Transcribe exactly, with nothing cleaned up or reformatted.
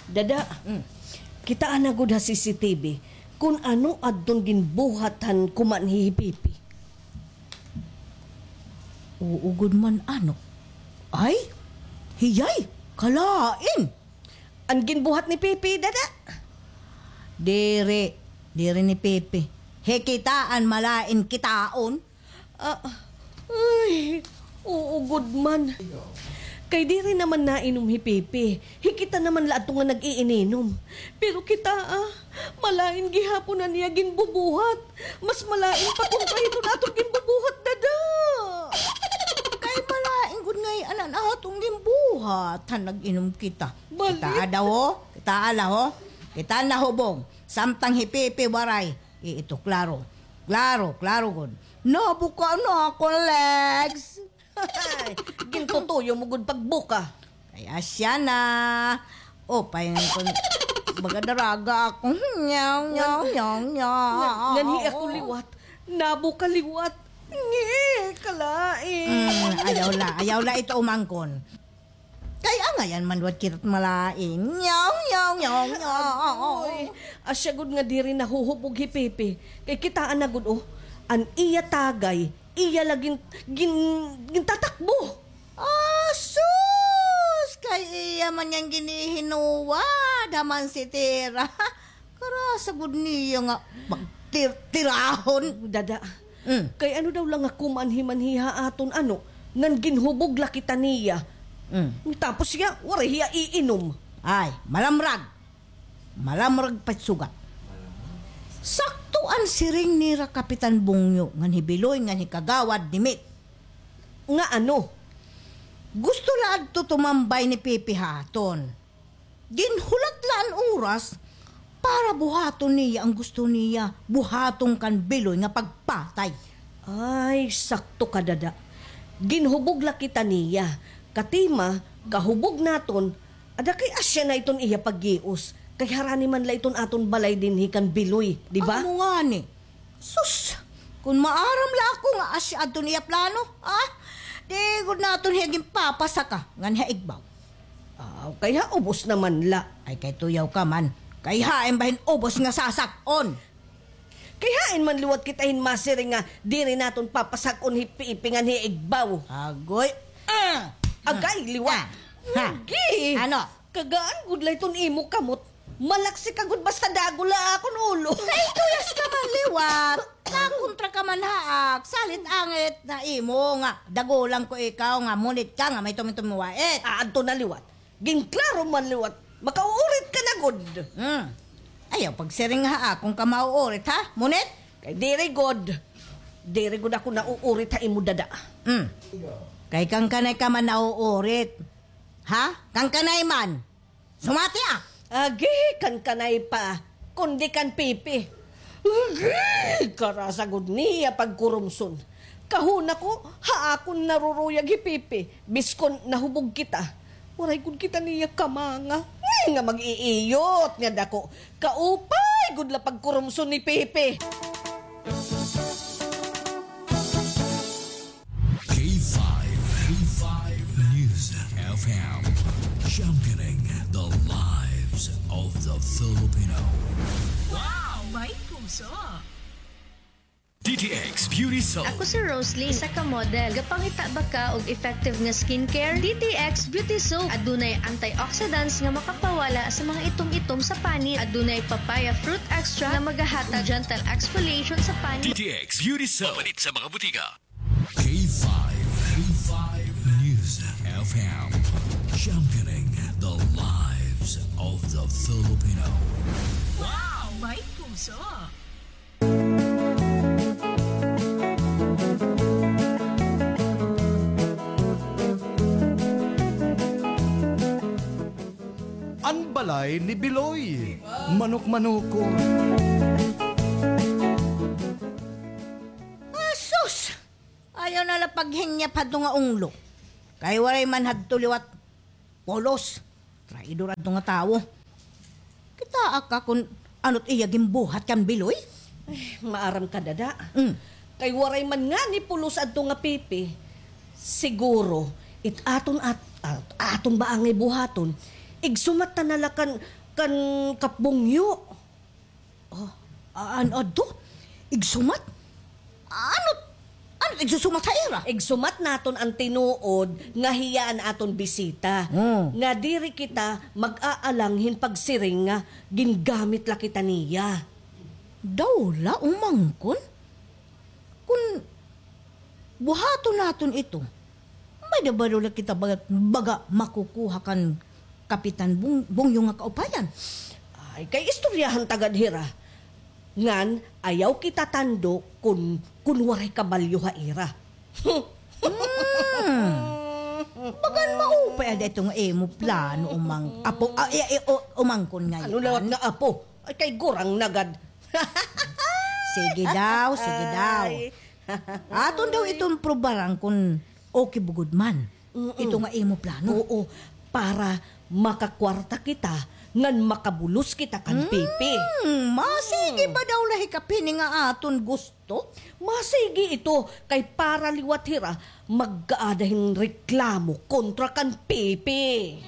Dada, mm, kitaa na gud ha C C T V kon ano adton ginbuhat han kumanhi hi Pipi. Oo gud man, ano? Ay, hiyay, kalain. An ginbuhat ni Pipi, Dada? Diri, diri ni Pipi. Hi kita an malain kitaon. Ah, ay, oo gud man. Kay diri naman nainom hi Pipi. Hi kita naman la adto nga nag-iininom. Pero kitaa, malain gihapon an iya ginbubuhat. Mas malain pa kontra hiton aton ginbubuhat, Dada. Kay malain gud ngay-an an aton ginbuhat han nag-inom kita. Balik. Kitaa daw, ho? Kitaa la, ho? Kitaa nahubog. Samtang hi Pipi waray. Ito, klaro. Klaro, klaro gud. Nabuka na akon legs. Gintutuyo mo gud pagbuka. Kay asya na. O, paingon ko, baga daraga ako. Nyaw, nyaw, nyaw, nyaw. Ngan-, nganhi ako liwat. Nabuka liwat. Ngi, kalain. Mm, ayaw la, ayaw la ito umangkon. Kay angayan man liwat kita't malain. Nyaw, nyaw, nyaw, nyaw. Uy, asya gud nga diri nahuhubog hi Pipi. Kay kitaa na gud, oh. An iya tagay, iya la gin-, gin-, gintatakbo. Ah, sus! Kay iya man yan ginihinuwad, ha, mansitera. Karasa gud niya nga magtir-, tirahon. Dada. Mm. Kay ano daw la nga kumanhi-manhi ha aton, ano, ngan ginhubog la kita niya. Mm. Tapos hiya, waray hiya iinom. Ay, malamrag. Malamrag pa it sugat. Sakto an siring nira Kapitan Bungyo ngan hi Biloy ngan hi Kagawad Dimit. Nga ano? Gusto la adto tumambay ni Pipi ha aton. Ginhulat la an oras para buhaton niya an gusto niya buhaton kan Biloy nga pagpatay. Ay, sakto ka, Dada. Ginhubog la kita niya. Katima, kahubog naton, ada kay asya na iton iya paggios. Kay harani man la iton aton balay dinhi kan Biloy, di ba? Amo ngani. Sus, kon maaram la ako nga asya adton iya plano, ah, di gud naton hiya ginpapasaka ngan ha igbaw. Aw, kay ha ubos naman la. Ay, kay tuyaw ka man. Kay hain ba hin ubos nga sasak-on? Kay hain man liwat kita hin masiring nga diri naton papasak-on hi Pipi ngan hi igbaw. Agoy. Ah! Agay, liwat. Ah. Ha? Agi. Ano? Kagaan gud la iton imo kamot. Malaksi ka gud basta dagol la akon ulo. Kay tuyas ka man liwat. Nakontra ka man ha ak. Salit angit na imo nga dagolan ko ikaw nga munit ka nga may tumitum wait. Ah, adto na liwat. Ginklaro man liwat. Makauurit ka na gud. Hmm. Ayaw pagsiring ha akon ka mauurit, ha? Munit? Kay diri gud. Diri gud ako nauurit ha imo, Dada. Hmm. Kay kan kanay ka man nauurit. Ha? Kan kanay man. Sumati, ah! Agi, kan kanay pa, kundi kan Pipi. Agi, karasa gud niya pagkurumson. Kahuna ko, ha akon naruruyag hi Pipi, biskon nahubog kita. Waray gud kita niya kamanga. Ngay nga mag-iiyot nga dako. Kaupay gud la pagkurumson ni Pipi. K five, K five News F M, championing the lives of the Filipino. Wow! May puso! D T X Beauty Soap. Ako si Rosalie, isa ka model. Gapangita ba ka og effective nga skincare? D T X Beauty Soap. Adunay antioxidants nga makapawala sa mga itom-itom sa panit. Adunay papaya fruit extract nga magahatag gentle exfoliation sa panit. D T X Beauty Soap. Mapalit sa mga butika. K five, K five News F M, championing the lives of the Filipino. Wow! May puso! An balay ni Biloy, manok-manoko. Asus! Ayaw na la paghingyap hadto nga unglo. Kay waray man hadto liwat pulos. Traidor adto nga tawo. Kitaa ka kon ano't iya ginbuhat kan Biloy? Ay, maaram ka, Dada. Mm. Kay waray man ngani pulos adto nga Pipi. Siguro, it aton at, at aton ba angay buhaton, Igsumat ta na la kan, kan Kap Bungyo. Oh, an adto? Igsumat? Ano, ano igsusumat ha ira? Igsumat naton an tinuod nga hiya an aton bisita. Hmm. Nga diri kita mag-aalang hin pagsiring nga gingamit la kita niya. Daw la, umangkon? Kun buhaton naton ito, may-ada ba daw la kita baga, baga makukuha kan Kapitan Bung-, Bungyo nga kaupayan? Ay, kay istoryahan ta gad hira. Ngan, ayaw kita tando kun, kun waray kabalyo ha ira. Hmm. Bagan maupay ada ito nga imo plano, umang-, apo, ah, eh, eh, o-, umangkon ngay-an. Ano lawat nga apo? Ay, kay gurang na gad. Sige daw, sige daw. Ay. Aton daw iton probaran kun okay bugod man. Mm-mm. Ito nga imo plano. Oo, para makakwarta kita, ngan makabulos kita kan Pipi. Hmm, masigi ba daw la hi Kap hini nga aton gusto? Masigi ito, kay para liwat hira, mag-aada hin reklamo kontra kan Pipi.